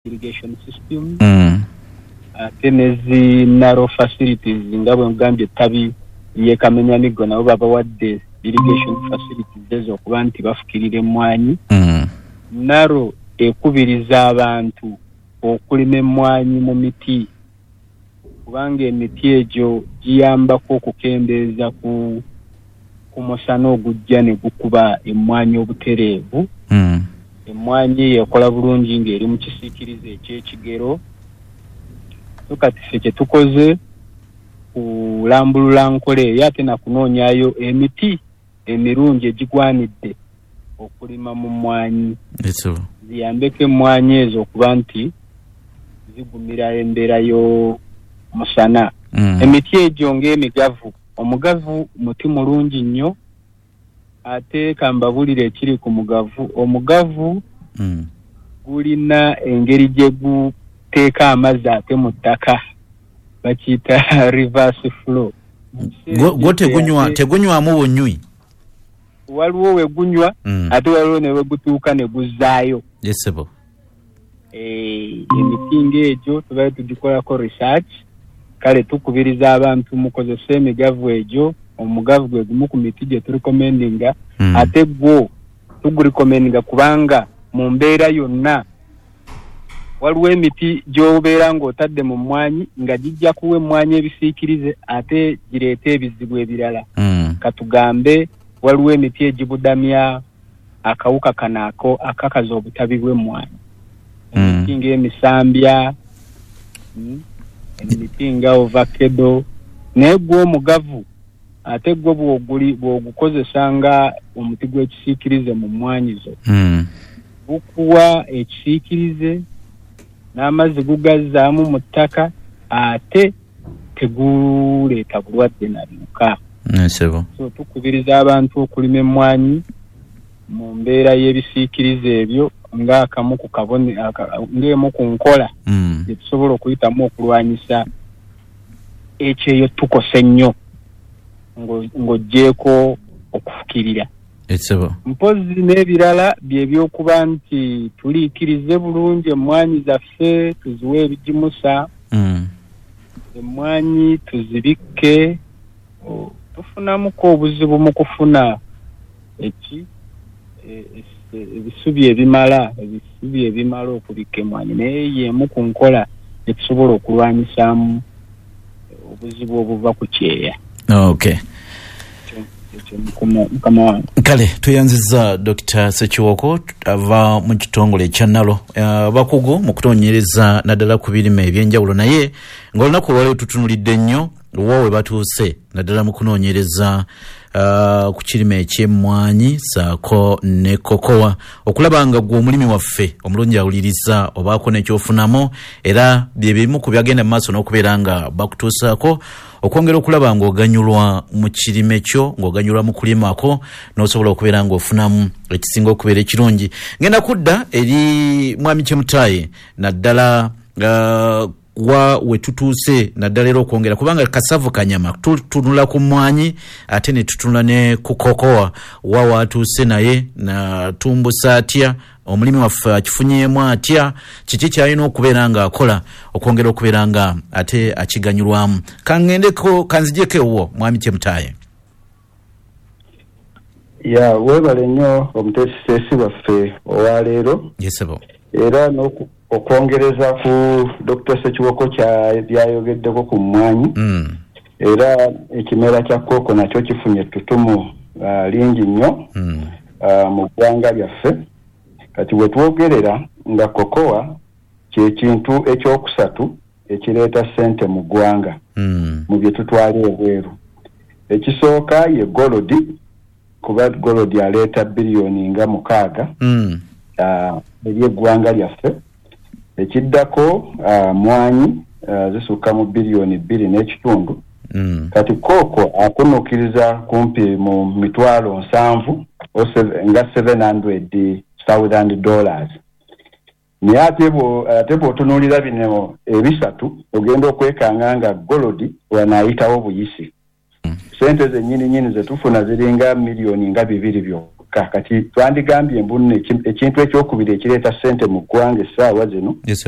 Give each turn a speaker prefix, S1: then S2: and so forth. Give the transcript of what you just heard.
S1: Irrigation system ate ne zi NARO facilities nga bwe nkugambye, ettabi ly'e Kamenyamiggo nabo babawadde irrigation facilities ezo okuba nti bafukirira emmwanyi. NARO ekubiriza abantu okulima emmwanyi mu miti kubanga emiti egyo giyambako okukendeeza ku ku musana ogujja ne gukuba emmwanyi obutereevu. Emmwanyi eyo ekola bulungi ng'eri mu kisiikirize eky'ekigero. So kati ffe kye tukoze kulambulula nkola eyo ate na kunoonyayo emiti emirungi egigwanidde okulima mu mmwanyi ziyambeko emmwanyi ezo okuba nti zigumira embeera y'omusana. Emiti egyo ng'emigavu, omugavu muti mulungi nnyo ate kambabulire ekiri ku mugavu. Omugavu gulina engeri gye guteeka amazzi ate mu ttaka, bakiyita reverse flow.
S2: Gwo tegunywamu bunywi?
S1: Waliwo we gunywa ate waliwo ne wegutuuka ne guzzaayo.
S2: Ye ssebo.
S1: Emiti ng'egyo tubaire tugikolako research, kale tukubiriza abantu mukozese emigavu egyo. Omugavu gwe gumu ku miti gye turecommendinga ate gwo tugurecommendinga kubanga mu mbeera yonna waliwo emiti gy'obeera ng'otadde mu mmwanyi nga gijja kuwa emmwanyi ebisiikirize ate gireete ebizibu ebirala. Katugambe waliwo emiti egibudamya akawuka kano ako akakaza obutabi bw'emmwanyi. Emiti ng'emisambya, emiti nga ovakedo, naye gwo omugavu ate gwo bw'ogukozesa nga omuti gw'ekisiikirize mu mmwanyi zo, gukuwa ekisiikirize n'amazzi gugazzaamu mu ttaka ate teguleeta bulwadde na biwuka. So tukubiriza abantu okulima emmwanyi mu mbeera y'ebisiikirize ebyo ng'akamu ku kabone ng'emu ku nkola gye tusobola okuyitamu okulwanyisa ekyeyo tukosa ennyo ng'oggyeeko okufukirira. Mpozzi n'ebirala bye by'okuba nti tuliikirize bulungi emmwanyi zaffe, tuziwe ebigimusa, emmwanyi tuzibikke. Tufunamuku obuzibu mu kufuna eki ebisubi ebimala, ebisubi ebimala okubikka emmwanyi naye y'emu ku nkola gye tusobola okulwanyisaamu obuzibu obuva ku kyeya.
S2: Okay.
S1: Ekyo mukama wange.
S2: Kale tweyanziza Dokita Ssekiwoko ava mu kitongole ekya NARO, abakugu mu kunoonyereza naddala ku birime eby'enjawulo naye nga olunaku olwaleero tutunulidde nnyo wa we batuuse naddala mu kunoonyereza ku kirime eky'emmwanyi saako ne kokowa okulaba nga gwe omulimi waffe omulungi awuliriza obaako n'ekyofunamu era bye bimu ku byagenda mu maaso n'okubeera nga bakutuusaako okwongera okulaba ng'oganyulwa mu kirime kyo, ng'oganyulwa mu kulima kwo n'osobola okubeera ng'ofunamu ekisinga okubeera ekirungi. Ngenda kudda eri Mwami Chemutayi naddala wa we tutuuse naddala era okwongera kubanga kasavu kanyama tutunula ku mwanyi ate ne tutunula ne ku kokowa wa watuuse naye natumbusa atya omulimi waffe akifunyeemu atya kiki kyalina okubeera nga akola okwongera okubeera nga ate akiganyulwamu. Kangendeko kanzijeko ewuwo Mwami Chemutayi.
S3: Ya webale nnyo omuteesiteesi waffe owa leero.
S2: Ye ssebo.
S3: Era okwongereza ku Dokita Ssekiwoko by'ayogeddeko ku mmwanyi, era ekimera kya kooko nakyo kifunye ettutumu lingi nnyo mu ggwanga lyaffe. Kati wetwogerera nga kokowa kye kintu ekyokusatu ekireeta sente mu ggwanga mu bye tutwala ebweru. Ekisooka ye golodi kuba golodi aleeta biliyoni nga mukaaga eri eggwanga lyaffe. Ekiddako mwanyi zisukka mu biliyoni bbiri n'ekitundu. Kati kooko akunukiriza kumpi mu mitwalo nsanvu nga $700,000. Naye ate bw'otunuulira bino ebisatu ogenda okwekanga nga golodi wano ayitawo buyisi. Sente zennyini nyini ze tufuna ziringa miliyoni nga bibiri byokka. kyokka. Kati twandigambye mbu nno ekintu ekyokubiri ekireeta ssente mu ggwanga essaawa zino
S2: Yes, sir.